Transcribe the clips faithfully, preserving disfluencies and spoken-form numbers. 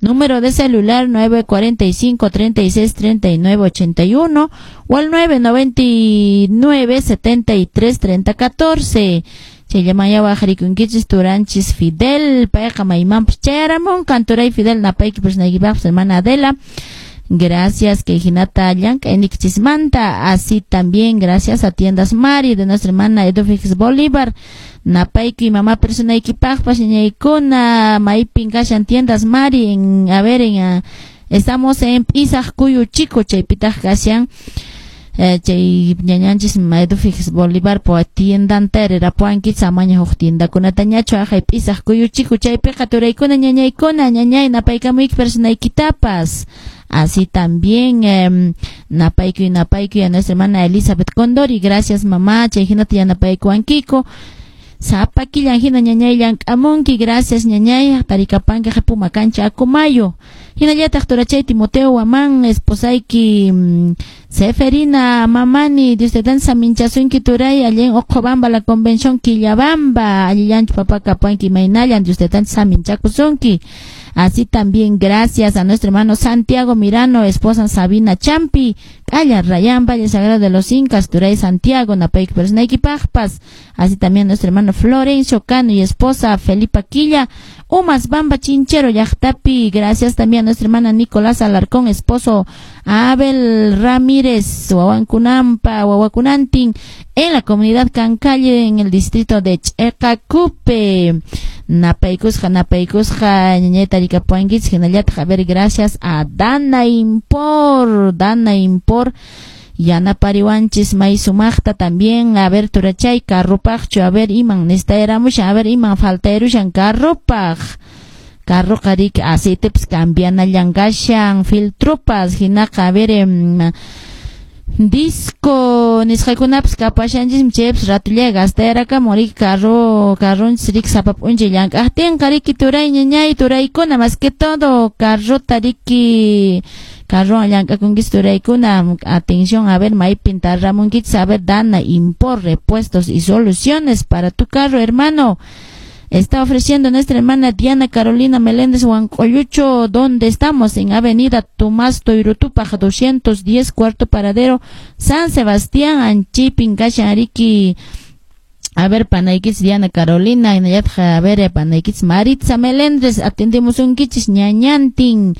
Número de celular nueve cuarenta y cinco, treinta y seis, treinta y nueve, ochenta y uno o al nueve noventa y nueve, setenta y tres, treinta, catorce. Chayamaya wajarikunkichis turanchis Fidel, payqa maymanpas chayaramun, canturay Fidel napayki personaykipaqpas hermana Adela. Gracias, que hinata llank'aynikichismanta. Así también gracias a Tiendas Mari de nuestra hermana Edufix Bolívar. Napayki mamá personaykipaqpas ñañaykuna maypin kashan Tiendas Mari en, a ver, en, uh, estamos en P'isaq Kuyu Chico, chaypitaq kashan. Eh, chay ñañanchis Edufix Bolívar po tiendanta hererapuanki samaña huk tiendakunata ñachu ajay P'isaq Kuyu Chico chaypiqa turaykuna ñañaykuna ñañay napaykamuyki personaykitapas. Así también, eh, napaykuy napaykuy a nuestra hermana Elizabeth Condori, gracias mamá, chay hinata yanapaykuankiko. Sapa killan hina ñañay llank'amunki, gracias ñañay, tarikapanki Puma Cancha Acomayo. Hinallataq turachay Timoteo Guamán, esposayki mm, Seferina Mamani, Dios te dan saminchasunki turay, allí en Ocobamba, la convención Quillabamba, allillanchu papá kapanki maynallan, Dios te dan saminchakusunki. Así también gracias a nuestro hermano Santiago Mirano, esposa Sabina Champi, Calla Rayán, Valle Sagrado de los Incas, Turay Santiago, Napayki Personayki Pajpas. Así también nuestro hermano Florencio Cano y esposa Felipa Quilla, Umas Bamba Chinchero, Yachtapi. Gracias también a nuestra hermana Nicolás Alarcón, esposo Abel Ramírez, Huahuancunampa, Huahuacunantin, en la comunidad Cancalle, en el distrito de Checacupe. Napaykusqa, napaykusqa, ñañayta rikapuankichis, hinallataq, a ver, gracias a Dana Impor, Dana Impor, yanapariwanchis may sumaqta también, a ver, turachay, carrupaqchu, a ver, iman nestayramushan, a ver, iman faltayrushan carrupaq. Carro qarik aceitepis cambianallan kashan, filtropas, hinaqa, a ver, em, disco nisqaykunapas kapashanchismi chaypas ratulla gastayarakamun riki carro carronchis riki sapa p'unchay llank'aqtinqa riki turay ñañay turaykuna más que todo carrota riki carrowan llank'akunkis turaykuna atención a ver maypin tarramunkichis a ver Dana Impor repuestos y soluciones para tu carro hermano. Está ofreciendo nuestra hermana Diana Carolina Meléndez Huancoyucho, donde estamos en Avenida Tomás Toirutupaj, doscientos diez, cuarto paradero, San Sebastián, Anchipin, Kashan, A ver, panaykis Diana Carolina, a ver, panaykis Maritza Meléndez, atendemos un kichis ñañantin.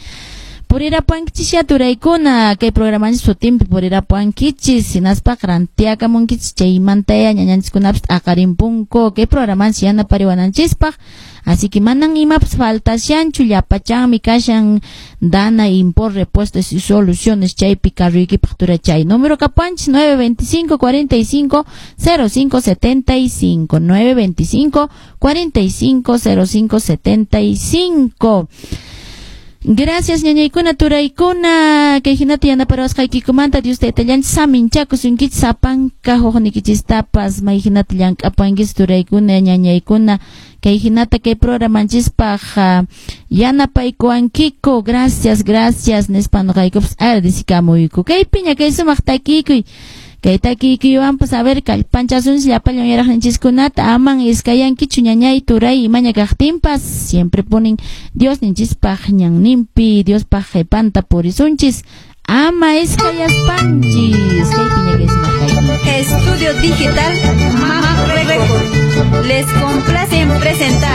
Purirapuankichis ya turaykuna, kay programanchis sutinpi purirapuankichis, hinaspa rantiakamunkichis chaymantaya ñañanchiskunapas t'aqarimpunku, kay programanchis yanapariwananchispaq. Así que manan imapas faltashanchu, llapachanmi kashan Dana Impor repuestos y soluciones chaypi carruykipaq turachay. Número kapuanchis nueve veinticinco cuarenta y cinco cero cinco setenta y cinco, nueve veinticinco cuarenta y cinco cero cinco setenta y cinco. Gracias ñañaykuna turaykuna kay hinata yanaparawasqaykikumanta Dios taytallanchis saminchakusunkichis sapanka huknikichistapas may hinata llank'apankichis turaykuna ñañaykuna kay hinata kay programanchispaq yanapaykuwankiku. Gracias, gracias nispa nuqaykupas agradecikamuyku. Kay piña kay sumaq takiykuy kay takiykuywanpas a ver kallpanchasunchis llapallan yaraqninchiskunata aman iskayankichu ñañay turay imaña kaqtinpas siempre ponen Dios ninchispaq ñanninpi Diospaq qhipanta purisunchis ama iskayaspanchis. Kay piña kay sumaq takiykuy. Estudio Digital Mac Record les complace en presentar